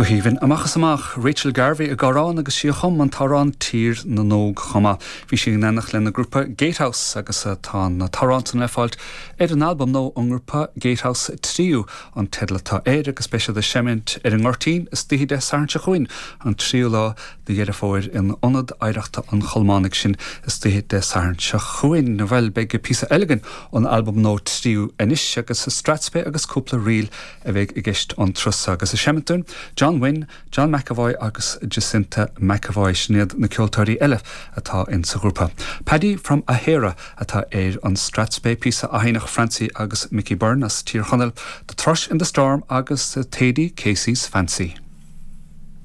Go haoibhinn amach is amach, Rachel Garvey ag amhrán agus sí a chum an t-amhrán Tír na nÓg chomh maith. Bhí sí in éineacht lena grúpa Gatehouse agus tá an t-amhrán san le fáilt ar an albam nua ón ngrúpa Gatehouse Tríú an teideal atá air agus beidh siad ag seimint ar an nGoirtín istoíche Dé Sathairn seo chugainn, an tríú lá de Dheireadh Fómhair in Ionad Oidhreachta an Cholmánaigh sin istoíche Dé Sathairn seo chugainn. Bhuel, beidh píosa eile againn ón albam nua Tríú anois agus Strathspey agus cúpla ríl a bheidh i gceist an turas seo agus ag seimint dúinn, John Wynne, John McEvoy agus Jacinta McEvoy, sin iad na ceoltóirí eile atá in sa ghrúpa. Paddy from Aghera atá ar an Strathspey, píosa a sheinneadh Francie agus Mickey Byrne as Tír Chonaill, The Thrush in the Storm agus Thady Casey's Fancy.